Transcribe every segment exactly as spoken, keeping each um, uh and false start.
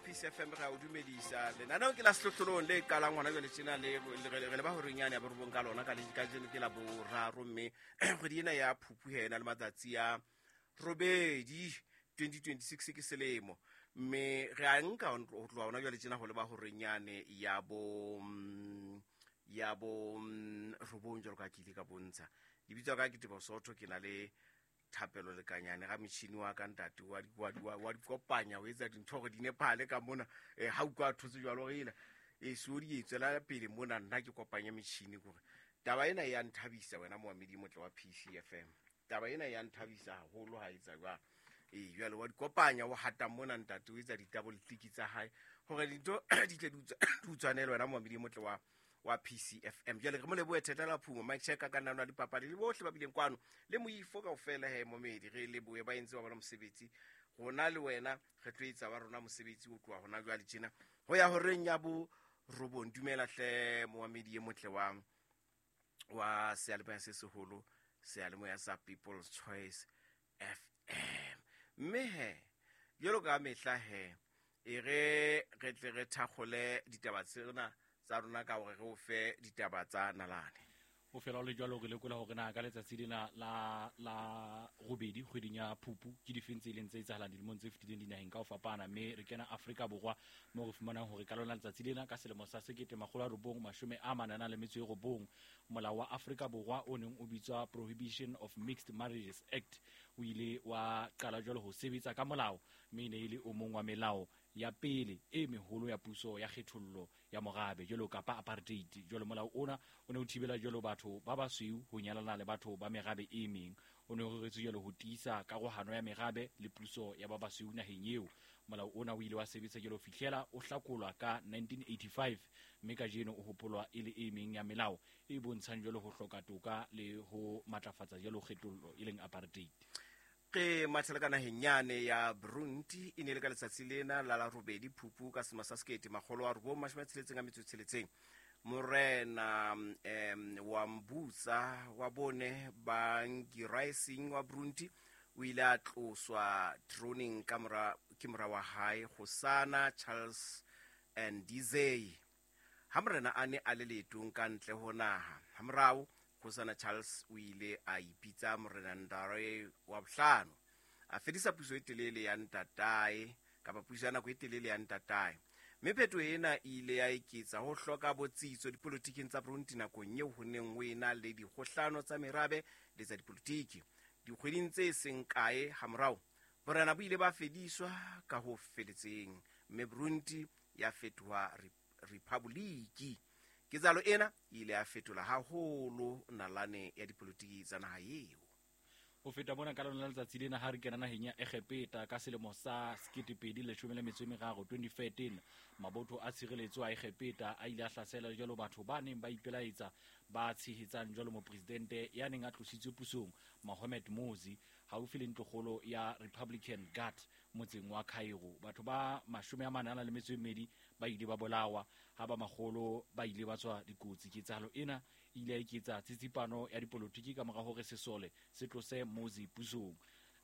P C F M, re a o dumedisa. Lenaneo ke la Sehlohlolong le qalang hona jwale tjena, le re le ba horeng yane ya borobong ka lona ka le kajeno ke la boraro, mme kgwedi ena ya Phupu hena le matsatsi a robedi twenty twenty-six ke selemo, mme re a nka ho tloha hona jwale tjena ho leba horeng yane ya bo, ya bo robong jwalo ka ke ile ka bontsha. Lebitso la ka ke Teboho Sotho, ke na le Thapelo Lekanyane ga motšhini wa ka ntate wa di, wa di, wa, wa di kopanya, o etsa dintho hore di nepahale ka mona. Eh, ha utlwa a thotse jwalo hore ela, eh, so di e tswela pele mona, nna ke kopanya metjhini kore taba ena e ya nthabisa wena moamedi motle wa P C F M. Taba ena e ya nthabisa haholo ha e etsa jwalo. Eh, jwale wa di kopanya, o hata mona ntate, o etsa ditabo le tiki tsa hae hore dintho di tle di utswa-, di utswanele wena moamedi motle wa, wa P C F M. Jwale re mo lebohe Theta la Phumo, Mike Checker ka nna dipapadi le bohle ba bileng kwano le moifo kaofela he momedi, re lebohe ba entse ba bona mosebetsi. Rona le wena re tlo etsa wa rona mosebetsi o tloha hona jwale tjena ho ya horeng ya bo robong. Dumela hle moamedi e motle wa, wa seyalemoya se seholo, seyalemoya sa People's Choice F M. Mme he jwalo ka mehla he e re re tle re thakgole ditaba tsena tsa rona ka hore re o fe ditaba tsa nalane. Ho fela ho le jwalo, re lekola hore na ka letsatsi lena la, la robedi kgweding ya Phupu ke difeng tse ileng tse etsahalang dilemong tse fetileng dinaheng ka ho fapana, mme re kena Afrika Borwa moo re fumanang hore ka lona letsatsi lena ka selemo sa sekete makgolo a robong mashome a mane a nang le metso e robong, molao wa Afrika Borwa o neng o bitswa Prohibition of Mixed Marriages Act o ile wa qala jwalo ho sebetsa ka molao, mme e ne e le o mong wa melao ya pele e meholo ya puso ya kgethollo ya morabe jwalo kapa apartheid. Jwalo molao ona o ne o thibela jwalo batho ba basweu ho nyalana le batho ba merabe e meng. O ne o reretswe jwalo ho tiisa karohano ya merabe le puso ya ba basweu naheng eo. Molao ona o ile wa sebetsa jwalo ho fihlela o hlakolwa ka nineteen eighty-five, mme kajeno o hopolwa e le e meng ya melao e bontshang jwalo ho hloka toka le ho matlafatsa jwalo kgethollo e leng apartheid. Re mathela ka naheng yane ya Burundi, e ne le ka letsatsi lena la la robedi Phupu ka selemo sa sekete makgolo a robong mashome a tsheletseng a metso e tsheletseng. Morena, em, wa Mbutsa wa bone Bangiraising wa Burundi o ile a tloswa throneng ka mora, ke mora wa hae Kgosana Charles Ndizeye. Ha morena a ne a le leetong ka ntle ho naha, hamorao Kgosana Charles o ile a ipitsa morena Ndare wa bohlano, a fedisa puso e telele ya ntatae kapa puso ya nako e telele ya ntatae. Mme phetoho ena e ile ya eketsa ho hloka botsitso dipolotiking tsa Burundi nakong eo ho neng ho ena le dikgohlano tsa merabe le tsa dipolotiki. Dikgweding tse seng kae hamorao, borena bo ile ba fediswa ka ho feletseng, mme Burundi ya fetoha rephaboliki. Ketsahalo ena e ile ya fetola haholo nalane ya dipolotiki tsa naha eo. Ho feta mona ka lona letsatsi lena ha re kena naheng ya Egepeta ka selemo sa sekete pedi leshome le metso e meraro, twenty thirteen, mabotho a tshireletso a Egepeta a ile a hlasela jwalo batho ba neng ba ipelaetsa ba tshehetsang jwalo mopresidente ya neng a tlositswe pusong Mohamed Morsi haufi le ntlokgolo ya Republican Guard motseng wa Cairo. Batho ba mashome a mane a nang le metso e mmedi ba ile ba bolawa, ha ba makgolo ba ile ba tswa dikotsi. Ketsahalo ena e ile ya eketsa tsitsipano ya dipolotiki ka mora hore sesole se tlose Morsi pusong.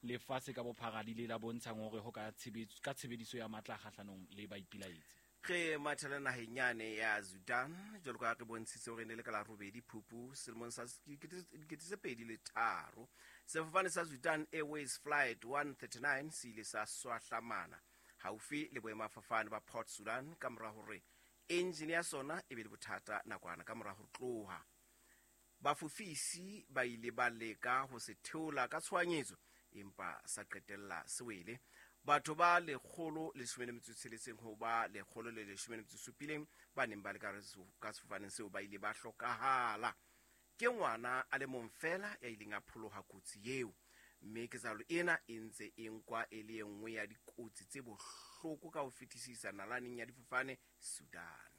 Lefatshe ka bophara le ile la bontsha ngongoreho ka tshebetso, ka tshebediso ya matla kgahlanong le baipilaetsi. Re mathela naheng yane ya Sudan, jwalo ka re bontshitse hore e ne le ka la robedi Phupu selemong sa dikete tse pedi le tharo. Sefofane sa Sudan Airways Flight one thirty-nine se ile sa swahlamana haufi le boemafofane ba Port Sudan ka mora hore engine ya sona e be le bothata nakwana ka mora ho tloha. Bafofisi ba ile ba leka ho se theola ka tshohanyetso, empa sa qetella se wele. Batho ba lekgolo le leshome le metso e tsheletseng ho ba lekgolo le leshome le metso e supileng ba neng ba le ka ka sefofaneng seo ba ile ba hlokahala. Ke ngwana a le mong fela ya ileng a pholoha kotsi eo, mme ketsahalo ena e ntse e nkwa e le e nngwe ya dikotsi tse bohloko ka ho fetisisa nalaneng ya difofane Sudan.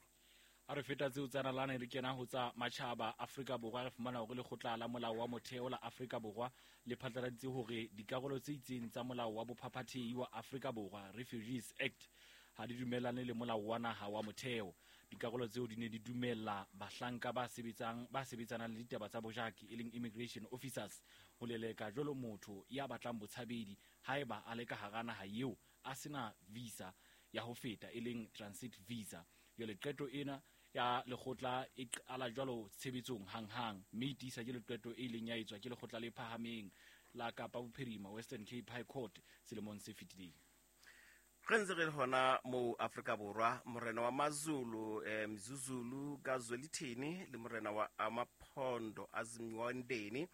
Ha re feta tseo tsa nalane re kena ho tsa matjhaba Afrika Borwa, re fumana hore lekgotla la molao wa motheo la Afrika Borwa le phatlaladitse hore dikarolo tse itseng tsa molao wa bophaphathehi wa Afrika Borwa Refugees Act ha di dumellane le molao wa naha wa motheo. Dikarolo tseo di ne di dumella bahlanka ba sebetsang, ba sebetsanang le ditaba tsa bojaki e leng immigration officers ho leleka jwalo motho ya batlang botshabedi haeba a le ka hara naha eo a sena visa. ya ho feta e leng transit visa. Jwale qeto ena ya lekgotla e qala jwalo tshebetsong hanghang, mme e tiisa ke leqeto e ileng ya etswa ke lekgotla le phahameng la Kapa Bophirima Western Cape High Court selemong se fetileng. Re ntse re le hona moo Afrika Borwa, morena wa Mazulu eh, Mzuzulu kaZwelithini le morena wa Amaphondo Azimwandeni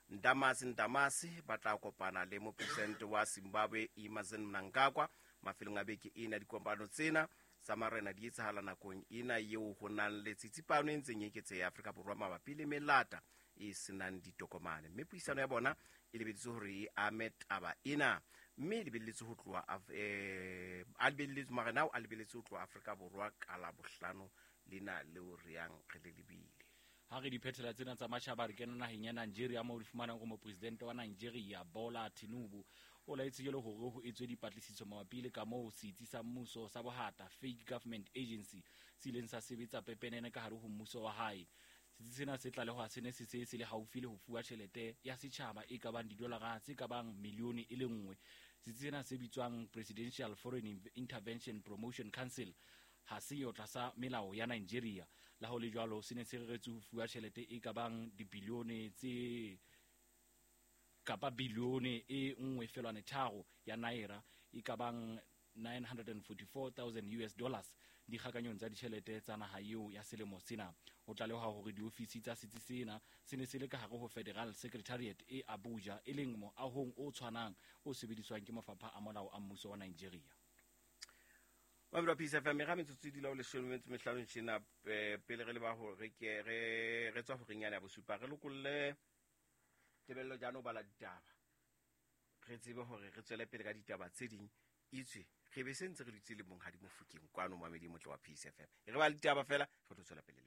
Ndamase Ndamase ba tla kopana le mopresidente wa Zimbabwe Emmerson Mnangagwa mafelong a beke ena. Dikopano tsena tsa marena di etsahala nakong ena eo ho nang le tsitsipano e ntseng e eketseha Afrika Borwa mabapi le melata e senang ditokomane, mme puisano ya bona e lebelletswe hore e ame taba ena, mme e lebelletswe ho tloha Af- eh, a lebelletswe marena ao a lebelletswe ho tloha Afrika Borwa ka Labohlano lena leo re yang re le lebile. Ha re di phethela tsena tsa matjhaba, re kena naheng ya Nigeria moo re fumanang hore mopresidente wa Nigeria Bola Tinubu o laetse jwale hore ho etswe dipatlisiso mabapi le ka moo setsi sa mmuso sa bohata fake government agency se ileng sa sebetsa pepenene ka hare ho mmuso wa hae. Setsi sena se tlalehwa se ne se se se le haufi le ho fuwa tjhelete ya setjhaba e ka bang didolara tse ka bang milione e le nngwe. Setsi sena se bitswang Presidential Foreign Intervention Promotion Council ha se yo tlasa melao ya Nigeria. La ho le jwalo se ne se reretswe ho fuwa tjhelete e ka bang dibilione tse kapa bilione e nngwe felwane tharo ya naira e ka bang nine hundred forty-four thousand U S dollars dikgakanyong tsa ditjhelete tsa naha eo ya selemo sena. Ho tlalehwa hore diofisi tsa setsi sena se ne se le ka hare ho Federal Secretariat e Abuja, e leng moahong o tshwanang o sebediswang ke mafapha a molao a mmuso wa Nigeria. Mamelo Peace F M, ga metsotso e dula o leshome metso mehlano tjena, eh, pele re leba hore ke re re tswa horeng yane ya bosupa, re lokolle Tebello Jano bala ditaba, re tsebe hore re tswele pele ka ditaba tse ding, itswe re be se ntse re dutse le Monghadi Mofokeng kwano mamedi motle wa Peace F M. E re ba ditaba fela re tlo tswela pele.